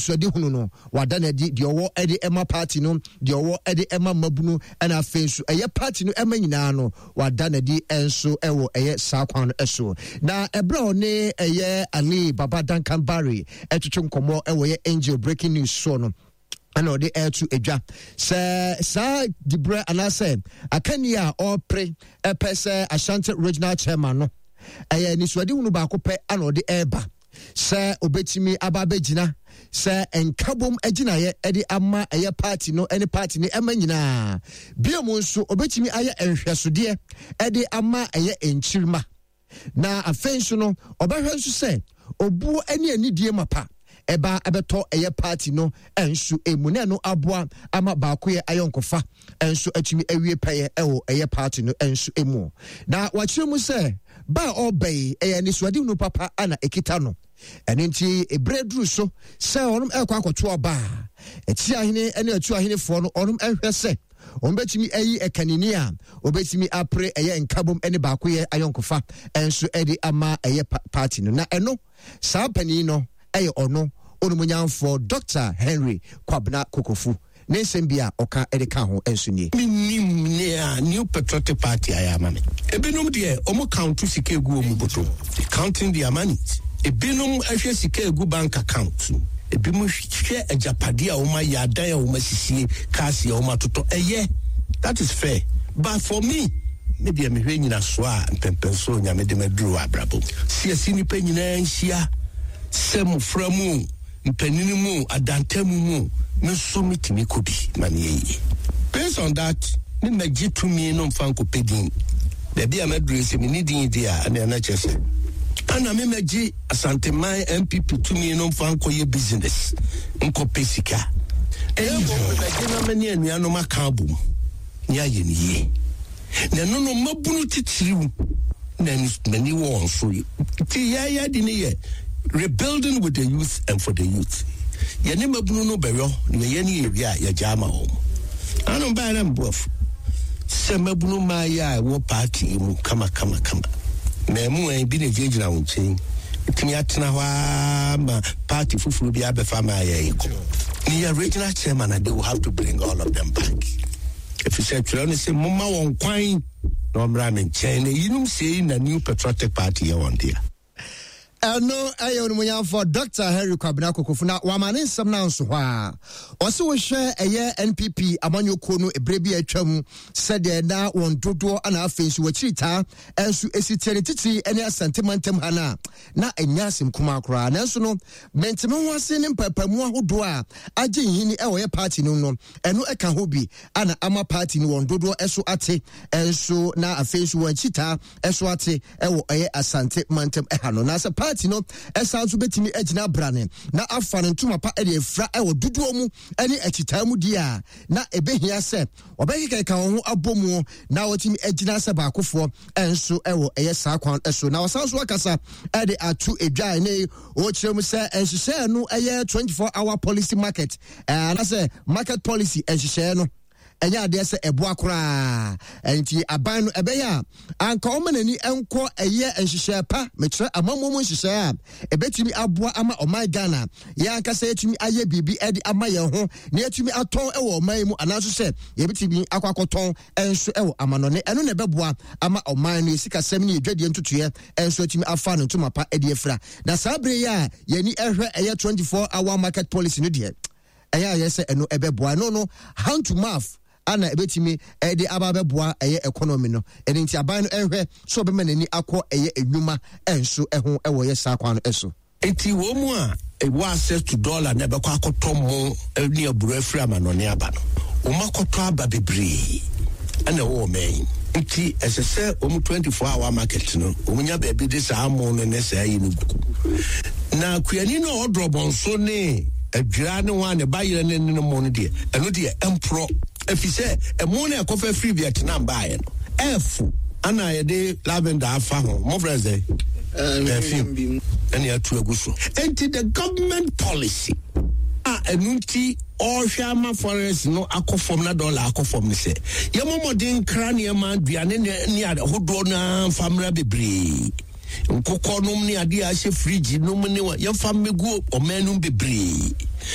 anisoadehunu no, wada no adi deɛ ɔwɔ de ma party no, deɛ ɔwɔ de ma mmabunu, ɛna afei nso ɛyɛ party no ɛma nyinaa no, wada no adi nso ɛwɔ ɛyɛ saa kwan no so. Na ɛberɛ a ɔne ɛyɛ Ali Baba Duncan Barry ɛtwetwe nkɔmmɔ ɛwɔ ɛyɛ Angel Breaking News soɔ no, ɛna ɔde ɛreto adwa sɛ saa diberɛ anaasɛ akanni a ɔrepere ɛpɛ sɛ Ashanti Regional Chairman no ɛyɛ anisoadehunu baako pɛ ana ɔde ɛreba sɛ obetumi aba abɛgyina sɛ nkabom agyinaeɛ de ama ɛyɛ party no ne party no ɛma nyinaa. Bio mu nso obetumi ayɛ nhwɛsodeɛ de ama ɛyɛ nkyirima. Na afei nso no ɔbɛhwɛ nso sɛ obuo ne anidie mapa ɛba ɛbɛtɔ ɛyɛ party no nso emu na ɛno aboa ama baakoyɛ ayɔnkofa nso atumi awie pɛyɛ ɛwɔ ɛyɛ party no nso emu. Na wakyerɛ mu sɛ ba a ɔreba yi ɛyɛ anisoadehunu papa ana ɛkita no. Ɛno nti ɛberɛ duru so sɛ ɔnom ɛrekɔ akɔto aba a, atiahene ne atuahenefoɔ no ɔnom ɛhwɛ sɛ wɔn bɛtumi ayi ɛkanini a wɔbɛtumi apere ɛyɛ nkabom ne baakoyɛ ayɔnkofa nso ɛde ama ɛyɛ party no. Na ɛno saa panin no ɛyɛ ɔno onimonyamfoɔ Dr. Henry Kwabena Kokofu. Ne nsɛm bi a ɔka de kaa ho nso nie. Mennim nea New Patriotic Party ayɛ ama me. Ebinom deɛ, wɔn count sika egu wɔn bɔtɔ mu, counting their monies. Ebinom hwɛ sika egu bank account mu. Ebinom hwɛ agyapadeɛ a wɔn ayɛ, adan a wɔn asisie, cars a wɔn atotɔ. Ɛyɛ, that is fair. But for me, me deɛ mehwɛ nyinasoɔ a mpɛmpɛnsoɔ Onyame de maduru wɔ abrabɔ mu. Siasi nnipa nyinaa nhyia sɛ mmofra mu o, Mpanyin mu o, adantamu mu o, me nso metumi kɔ bi ma no yɛ yie. Based on that, me mmɛgye tumi no mfa nkɔpɛ din. Baabi a maduru yi, sɛ menni din deɛ a, ɛnneɛ na kyerɛ sɛ ɛna me mmɛgye Asanteman NPP tumi no mfa nkɔyɛ business, nkɔpɛ sika. Na mmom mebɛgye na me ne anuanom aka abom na yɛayɛ no yie. Na ɛno no, mmabunu titiriw na m'ani wɔ wɔn so. Nti yɛyɛ de ne yɛ rebuilding with the youth and for the youth. Yɛne mmabunu no bɛyɔ na yɛyɛ ne yɛwie a yɛgya ama wɔn. Ano baeɛ na mboafo sɛ mmabunu mmaayɛ a ɛwɔ party yi mu kama kama kama. Mmaamua bi na gyinagyina wo nkyɛn tumi atena hɔ ara ma party foforɔ bi abɛfa mmaayɛ yi kɔ. Meyɛ regional chairman and they will have to bring all of them back. Efisɛ twerɛ no se, Momma wɔn kwan na wɔmmra me nkyɛn, na eyinom sei na New Patriotic Party yɛ wɔn dea. Ɛno ɛyɛ onimonyamfoɔ Dr. Henry Kwabena Kokofu na wama ne nsɛm no anso hɔ a. Ɔse wohwɛ ɛyɛ NPP amanyɔkuo no ɛberɛ bi a atwa mu sɛdeɛ na wɔn dodoɔ ana afei nso wɔakyiri taa nso ɛsi teɛ ne titiri ne Asante mantam ha no a na ɛnyɛ asɛm kumaa koraa. Nanso no mente me ho ase ne mpaapaemu ahodoɔ a agye nhini ɛwɔ yɛ party no no ɛno ɛka ho bi ana ama party no wɔn dodoɔ ɛso ate ɛnso na afei nso wɔn akyitaa ɛso ate ɛwɔ ɛyɛ Asante mantam ɛha no. Na sɛ party no ɛsan nso bɛtumi agyina abrane na afa ne ntoma pa ɛde afira ɛwɔ dodoɔ mu ɛne akyitaa mu di a, na ɛbɛhia sɛ wɔbɛkekɛka wɔn ho abɔ mu na wɔtumi agyina sɛ baakofoɔ ɛnso ɛwɔ ɛyɛ saa kwan ɛso. Na wɔsan so akasa ɛde ato edwa ɛne wɔkyerɛ mu sɛ nhyehyɛɛ no ɛyɛ 24 hour policy market anaasɛ market policy nhyehyɛɛ no ɛnyɛ adeɛ sɛ ɛboa koraa. Nti aban no ɛbɛyɛ a anka ɔma n'ani nkɔ ɛyɛ nhyehyɛɛ pa, mekyerɛ amammuo mu nhyehyɛɛ a ɛbɛtumi aboa ama ɔman Ghana yɛn ankasa yɛtumi ayɛ biribi de ama yɛn ho na yɛtumi atɔn wɔ ɔman yi mu, anaaso sɛ yɛbɛtumi akɔ akɔtɔn nso wɔ amanɔne. Ɛno na ɛbɛboa ama ɔman no yɛsikasɛm ne yɛdwadie ntotoeɛ nso atumi afa no ntoma pa de afira. Na saa bere yi a yɛni ɛhwɛ ɛyɛ 24 hour market policy no deɛ, ɛyɛ ayɛ sɛ ɛno ɛbɛboa. Ɛno no hand to mouth ana ɛbɛtumi ɛde aba abɛboa ɛyɛ economy no. Ɛno nti aban no ɛnhwɛ sɛ ɔbɛma n'ani akɔ ɛyɛ enwuma ɛnso ɛho ɛwɔ yɛ saa kwan no ɛso. Enti wɔn mu a ɛwɔ access to dollar na ɛbɛkɔ akɔtɔ mo ne aburo afiri amanɔne aba no, wɔn akɔtɔ aba bebree ɛna ɛwɔ ɔman yi. Nti ɛsɛ sɛ wɔn 24 hour market no, wɔn nya baabi de saa mo no ne saa yi no gu. Na kuani no a ɔdrɔ bɔnso ne adwira ne wɔn a ne ba yerɛ ne ne mo no deɛ, ɛno deɛ ɛmporɔ. Ɛfiri sɛ ɛmo no a ɛkɔfa firi Vietnam baeɛ no, ɛɛfo ana yɛde lavender afa ho, mofrɛ sɛ perfume ɛne atu agu so. Enti the government policy a ɛno nti ɔrehwɛ ama forex no akɔ fam na dollar akɔ fam ne sɛ yɛmmɔ mmɔden nkra nneɛma aduane ne ahodoɔ no ara mfa mmra bebree, nkokɔ nom ne adeɛ a ahyɛ fridge nom ne yɛmfa mmɛgu ɔman nom bebree.